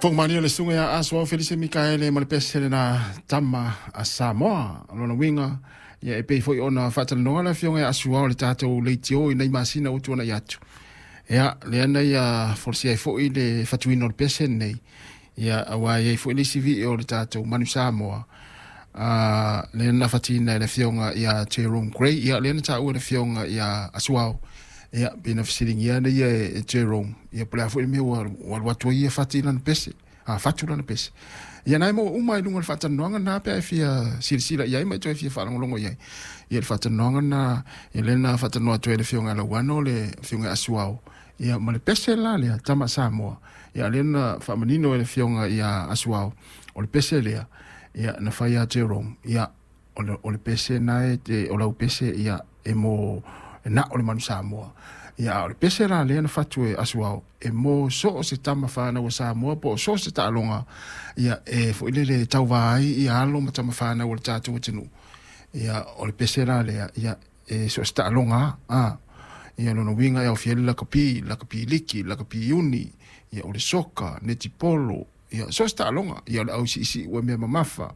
Fofoga le susuga ia Asoao Felise Mikaele ma le pese lena Tama a Samoa. O lona uiga, ia e pei foi ona faatalanoa le afioga ia Asuao le tatou leitio i nai masina ua tuanai atu. Ia, lea na ia folasia ai foi le fatuina o le pese lenei. Ia, aua e i ai foi le isi vii o le tatou Manu Samoa, lea na fatiina e le afioga ia Jerome Gray. Ia, lea na taua e le afioga ia Asuao. Ia, pei na fesiligia nei e Jerome, ia po o le a foi le mea ua alu atu ai ia fati lana pese, fatu lana pese. Ia na e maua uma i luga o le faatalanoaga lena pe a e fia silasila i ai ma e toe fia faalogologo i ai. Ia le faatalanoaga lena, ia lea na faatalanoa atu ai e le afioga ia Lauano le afioga ia Asuao, ia ma le pese la lea, Tama Samoa. Ia lea na faamanino e le afioga ia Asuao, o le pese lea, ia na fai ia Jerome, ia o le pese na e te, o lau pese ia e mo e na o le Manu Samoa. Ia a o le pese la lea na fatu e Asuao, e mo so o se tama whānau a Samoa, po o so o se taaloga, ia e foi lele tauvā ai ia alo ma tama whānau o le tātou atunuu. Ia o le pese la lea, ia e so o se taaloga, ia lona uiga e aofia ai le lakapi, lakapi liki, lakapi uni, ia o le soka, netipolo, ia so o se taaloga, ia o le ausiisii ua mea mamafa,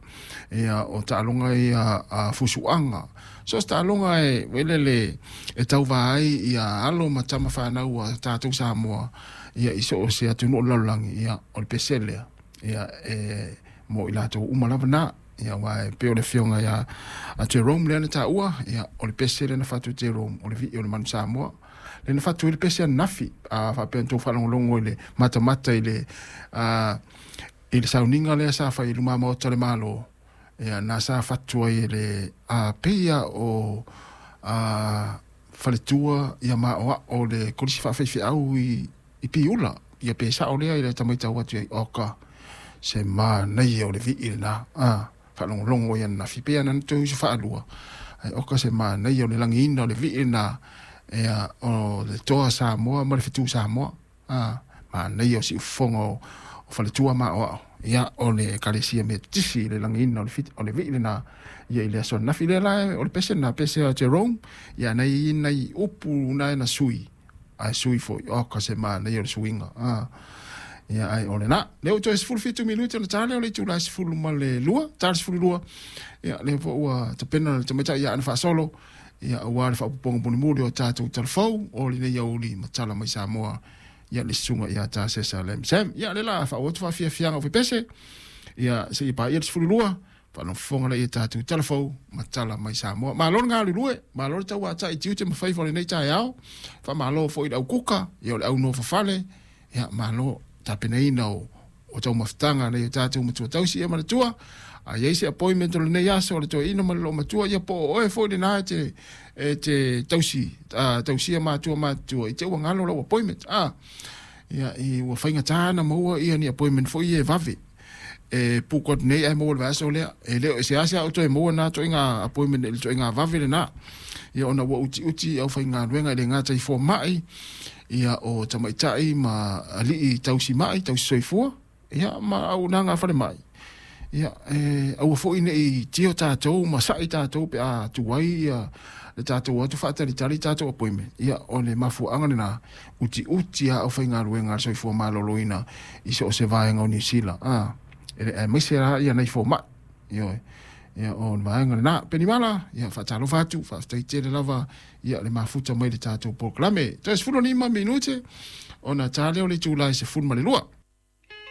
ia o taaloga ia a fusuaga, so o se taaloga e welele e tauvā ai ia alo ma tama whānau a tātou Samoa, ia i so o se atunuu o le lalolagi, ia o le pese lea, ia e mo i latou uma lava na. Ia aua e pei o le afioga ia a Jerome lea na taua, ia o le pese lea na fatu e Jerome, o le vii o le Manu Samoa. Lea na fatu ai le pese ananafi, a faapea na tou faalogologo i le matamata i le i le sauniga lea sa fai i luma maota o le Malo, ia na sa fatu ai e le peia o faletua ia maoao le kolisi faafeifeau i Piula, ia pe sao lea i le tamaitau atu ai, oka se manaia o le vii lena, faalogologo ia ananafi pe ana toe uso faalua, ai oka se manaia o le lagiina o le vii lena, ia o le toa Samoa ma le fetu Samoa, manaia o siufofoga o faletua maoao, ia o le ekalesia Metotisi le lagiina o le vii lena, ia i le aso ananafi lea la o le pese lena, pese a Jerome, ia nai nai upu na e na sui, ae sui foi, oka se manaia o le suiga, ia ai o lena. Lea ua toe 17 minute ona ta lea o le itula e 12, ta le 12, ia lea foi ua tapena le tamaitai ia Ana Faasolo, ia aua le faaopoopoga mulimuli o tatou talafou o lenei aoauli ma tala mai Samoa, ia le susuga ia Tasesa Lam Sam. Ia lea la faaauau atu faafiafiaga o fepese, ia seia paia le 12, faalogologo lea ia tatou talafou ma tala mai Samoa. Malo le galulue, malo le tauatai i tiute ma faiva o lenei taeao, faamalo foi i le aukuka, ia o le aunofofale, ia malo tapenaina o taumafataga nei o tatou matua tausi ia ma le tua. A i ai se appointment o lenei aso o le toeaina ma le loomatua, ia po o oe foi lena e te tausi, tausia matua matutua, i te ua galo lau appointment. Ia, i ua faigata na maua ia ni appointment foi e vave. E puku atu nei ai maua le vaiaso lea. E le o se ase au toe maua na toaiga appointment i le toaiga vave lena. Ia ona ua utiuti au faigaluega i le gata i fomai, ia o tamaitai ma alii tausi mai, tausi soifua, ia ma auaunaga a falemai. Ia e aua foi nei tio tatou ma sa'i tatou pe a tuai ia le tatou atu faatalitali tatou appointment. Ia o le mafuaaga lena, utiuti a au faigaluega a le soifua maloloina i so o se vaega o Niu Sila. Aemaise la ia nai fomai. Ioe. Ia o le vaega lena. Penimala, ia faatalofa atu, faafetai tele lava ia le mafuta mai le tatou polokalame. Toe 15 minute ona ta lea o le itula e 12.